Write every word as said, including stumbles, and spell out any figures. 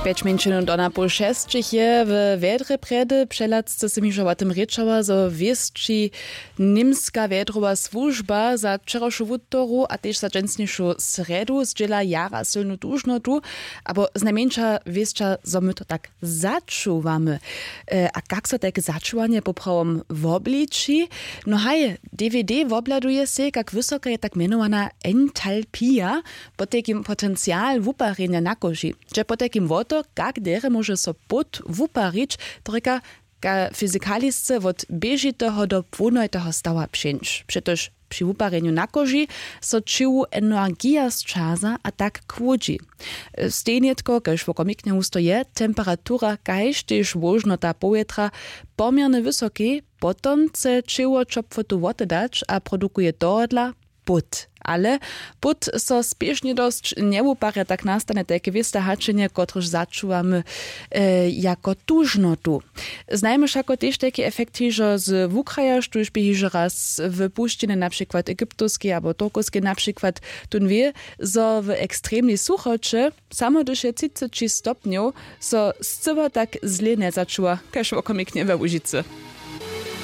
Pjeć mjeńšinow do napoł šesćich je we wjedrje prjedy přehlad sce sym hižo wo tym rěčała zo wěsći, němska wjedrowa słužba za wčerawšu wutoru a tež za dźensnišu srjedu zdźěla jara sylnu dužnotu, abo znajmjeńša wěsća zo my to tak začuwamy. A kak so tajke začuwanje poprawom wobliči? No haj, dvd wobhladuje sej kak wysoka je tak mjenowana entalpija, potajkim potencial wuparjenja na koži. Dźe potajkim wo to, kak derje móže so pót wuparić, to rěka, fyzikalisce wot běžiteho do płónojteho stawa přeńć přetož při wuparjenju na koži so ćěłu energija sćaza a tak kłódźi. Stejnjetko kaž wokomiknje husto je temperatura kaž tež włožnota powětra pomjerny wysokej. Potom chce ćěło ćopłotu wotedać a produkuje tohodla pót. Ale pót so spěšnje dosć njewuparja tak nastanje tajke wěste haćenje kotrež začuwamy jako tužnotu. Znajmy wšako tež tajki efekt hižo z wukraja štóž bě hižo raz w pušćiny na přikład egyptowskej abo turkowskej na přikład, tón wě zo w ekstremnej suchoće samo hdyž je třiceći stopnjow so scyła tak zlě njezačuwa kaž wokomiknje we łužicy.